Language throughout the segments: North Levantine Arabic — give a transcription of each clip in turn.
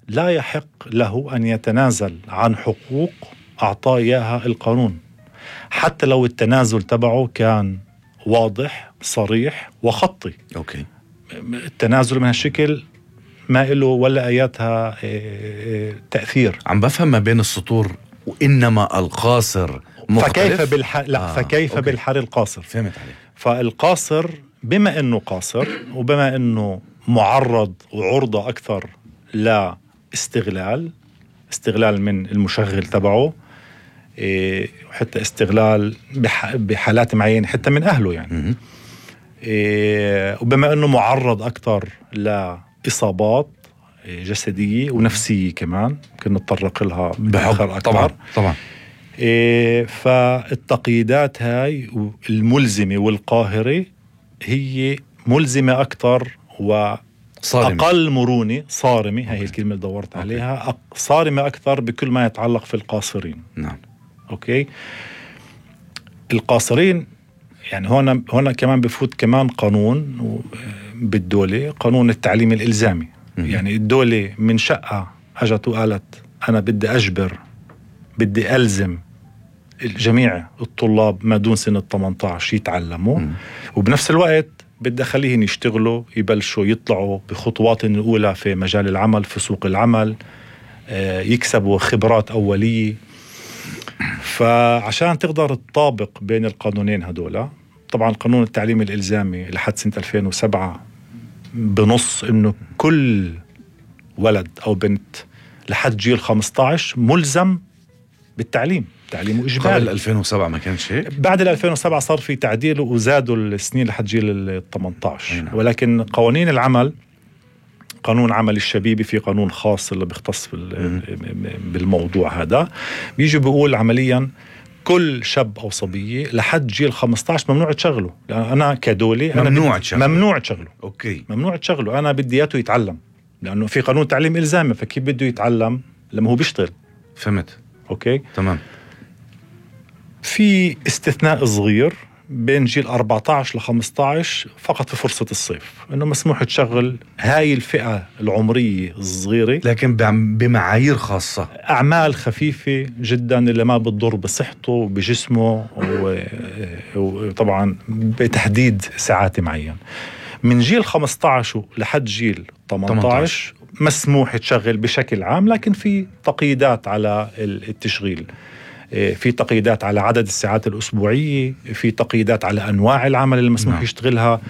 لا يحق له أن يتنازل عن حقوق أعطاه إياها القانون، حتى لو التنازل تبعه كان واضح صريح وخطي. أوكي. التنازل من هالشكل ما إله ولا آياتها تأثير. عم بفهم ما بين السطور، وإنما القاصر مختلف. فكيف بالحر القاصر؟ فهمت عليك. فالقاصر بما أنه قاصر وبما أنه معرض وعرضة أكثر لاستغلال من المشغل تبعه، حتى استغلال بحالات معينة حتى من أهله يعني. وبما أنه معرض أكثر لإصابات جسدية ونفسية كمان كنا نتطرق لها بآخر أكثر. طبعا. فالتقييدات هاي الملزمة والقاهرة هي ملزمة أكثر وأقل مرونة. صارمة، هاي الكلمة اللي دورت عليها. صارمة أكثر بكل ما يتعلق في القاصرين. نعم. أوكي. القاصرين يعني هنا كمان بفوت كمان قانون بالدولة، قانون التعليم الإلزامي. يعني الدولة من شقة أجت وقالت أنا بدي ألزم جميع الطلاب ما دون سن 18 يتعلموا، وبنفس الوقت بدي أخليهم يشتغلوا، يبلشوا يطلعوا بخطوات الأولى في مجال العمل، في سوق العمل، يكسبوا خبرات أولية. فعشان تقدر تطابق بين القانونين هدول، طبعا قانون التعليم الإلزامي لحد سنة 2007 بنص إنه كل ولد أو بنت لحد جيل 15 ملزم بالتعليم، تعليمه إجباري. قبل 2007 ما كانش هيك؟ بعد 2007 صار في تعديل وزادوا السنين لحد جيل 18. ولكن قوانين العمل، قانون عمل الشبيبي، في قانون خاص اللي بيختص بالموضوع هذا، بيجي بيقول عمليا كل شاب أو صبية لحد جيل 15 ممنوع تشغله. لأن أنا كدولة ممنوع تشغله. أوكي. ممنوع تشغله. أنا بدي إياه يتعلم، لأنه في قانون تعليم إلزامي، فكيف بده يتعلم لما هو بيشتغل؟ فهمت. أوكي. تمام. في استثناء صغير بين جيل 14 ل 15 فقط في فرصة الصيف، إنه مسموح تشغل هاي الفئة العمرية الصغيرة، لكن بمعايير خاصة، أعمال خفيفة جدا اللي ما بتضر بصحته وبجسمه، وطبعا بتحديد ساعات معين. من جيل 15 لحد جيل 18 مسموح تشغل بشكل عام، لكن في تقييدات على التشغيل. في تقييدات على عدد الساعات الأسبوعية، في تقييدات على أنواع العمل اللي مسموح يشتغلها،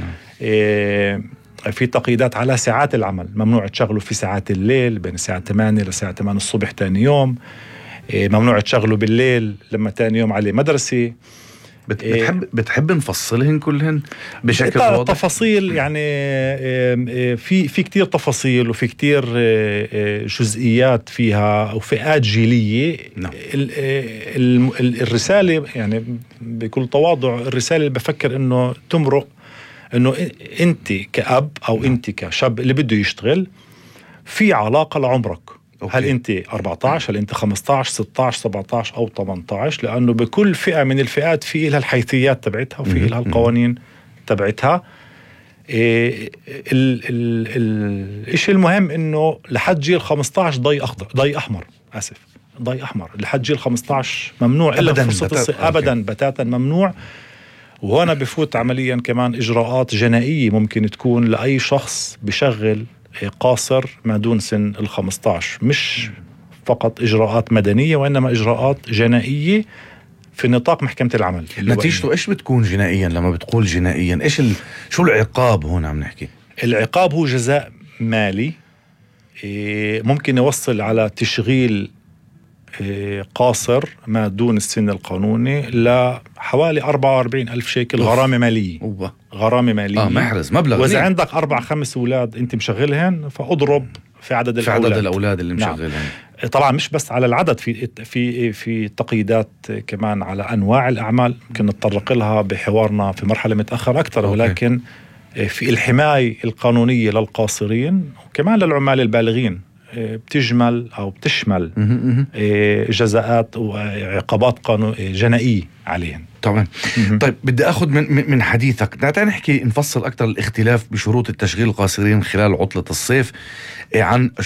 في تقييدات على ساعات العمل. ممنوع تشغله في ساعات الليل بين الساعة 8 لساعة 8 الصبح تاني يوم، ممنوع تشغله بالليل لما تاني يوم عليه مدرسة. بتحب نفصلهن كلهن بشكل واضح؟ تفاصيل يعني في كتير تفاصيل وفي كتير جزئيات فيها وفئات جيلية. نعم. الرسالة يعني بكل تواضع، الرسالة اللي بفكر انه تمرق انه انت كأب او انت كشاب اللي بده يشتغل في علاقة لعمرك. أوكي. هل أنت 14، هل أنت 15، 16، 17 أو 18؟ لأنه بكل فئة من الفئات في لها الحيثيات تبعتها وفي لها القوانين تبعتها. الشيء المهم إنه لحد جيل 15 ضي أحمر لحد جيل 15 ممنوع إلا فرصة أبدا بتاتا ممنوع. وهنا بفوت عمليا كمان إجراءات جنائية ممكن تكون لأي شخص بشغل قاصر ما دون سن 15، مش فقط إجراءات مدنية وإنما إجراءات جنائية في نطاق محكمة العمل. نتيجته إيش بتكون جنائيا؟ لما بتقول جنائيا إيش شو العقاب هون عم نحكي؟ العقاب هو جزاء مالي ممكن يوصل على تشغيل قاصر ما دون السن القانوني لحوالي 44,000 شيكل غرامة مالية. غرامة مالية محرز مبلغ. وإذا عندك 4-5 أولاد أنت مشغلهن فأضرب في عدد الأولاد اللي مشغلهن. نعم. طبعا مش بس على العدد، في تقييدات كمان على أنواع الأعمال ممكن نتطرق لها بحوارنا في مرحلة متأخر أكثر. ولكن في الحماية القانونية للقاصرين وكمان للعمال البالغين بتشمل جزاءات وعقابات جنائية عليهم. طبعا. طيب بدي أخذ من حديثك تعال نحكي نفصل أكثر الاختلاف بشروط التشغيل القاصرين خلال عطلة الصيف عن